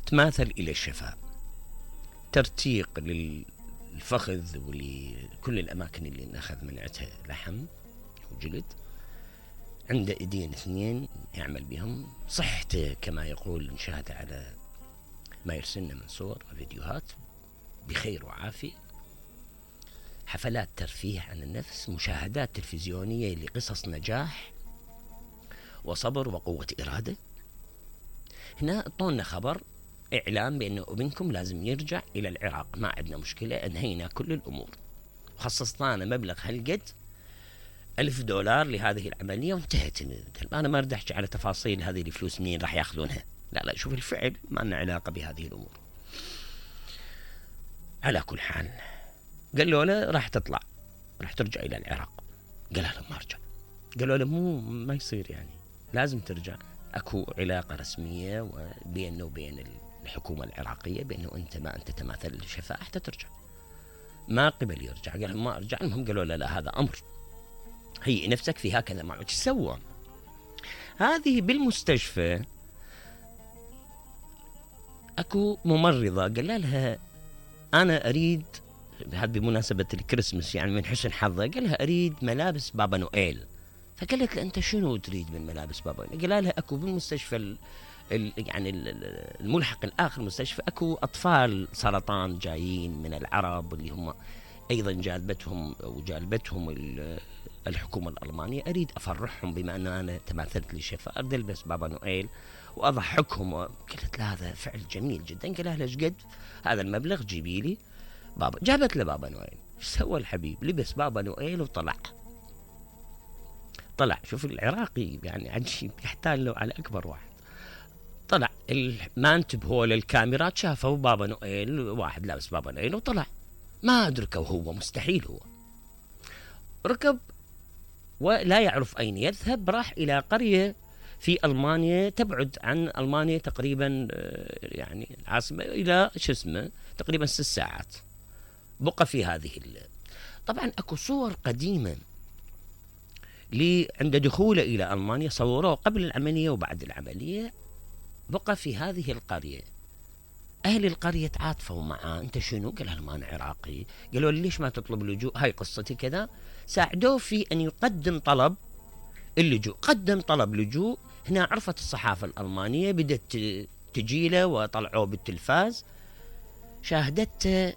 تماثل إلى الشفاء، ترتيق للفخذ ولكل الأماكن اللي نأخذ منعتها لحم وجلد، عنده ايدين اثنين يعمل بهم، صحته كما يقول نشاهد على ما يرسلنا من صور وفيديوهات بخير وعافية، حفلات ترفيه عن النفس، مشاهدات تلفزيونية لقصص نجاح وصبر وقوة إرادة. هنا اعطونا خبر إعلام بأنه ابنكم لازم يرجع إلى العراق، ما عندنا مشكلة، أنهينا كل الأمور، خصصنا مبلغ هالقد $1000 لهذه العملية وانتهت. أنا ما أردحش على تفاصيل هذه الفلوس منين راح يأخذونها، لا شوف الفعل، ما لنا علاقة بهذه الأمور. على كل حال قالوا له راح تطلع، راح ترجع إلى العراق. قال لهم ما أرجع. قالوا له ما يصير، يعني لازم ترجع، أكو علاقة رسمية بينه وبين الحكومة العراقية بأنه أنت ما أنت تماثل الشفاء حتى ترجع. ما قبل يرجع، قال لهم ما أرجع. المهم قالوا له لا هذا أمر، هي نفسك في هكذا معه. ايش سوى؟ هذه بالمستشفى اكو ممرضة قال لها انا اريد، هذا بمناسبة الكريسماس يعني من حسن حظه، قال لها اريد ملابس بابا نويل. فقالت له انت شنو تريد من ملابس بابا نويل؟ قال لها اكو بالمستشفى يعني الملحق الاخر مستشفى اكو اطفال سرطان جايين من العرب اللي هم ايضا جالبتهم الحكومة الألمانية، أريد أفرحهم بما أن أنا تماثلت للشفاء، أريد ألبس بابا نويل وأضحكهم. قلت له هذا فعل جميل جدا. قال لها ليش قد هذا المبلغ جيبي لي بابا. جابت له بابا نويل. سوى الحبيب؟ لبس بابا نويل وطلع. شوف العراقي يعني عجيب، يحتاج له على أكبر واحد. طلع ما انتبهوا للكاميرات، شافوا بابا نويل، واحد لابس بابا نويل وطلع. ما أدركه هو، مستحيل هو. ركب ولا يعرف أين يذهب، راح إلى قرية في ألمانيا تبعد عن ألمانيا تقريبا يعني العاصمة إلى تقريبا 6 ساعات. بقى في هذه طبعا أكو صور قديمة عند دخوله إلى ألمانيا، صوروه قبل العملية وبعد العملية. بقى في هذه القرية، أهل القرية تعاطفوا معاه. أنت شنو؟ قال لهم أنا عراقي. قالوا لي ليش ما تطلب لجوء؟ هاي قصتي كذا. ساعدوه في أن يقدم طلب اللجوء، قدم طلب لجوء. هنا عرفت الصحافة الألمانية، بدأت تجيله وطلعوه بالتلفاز، شاهدته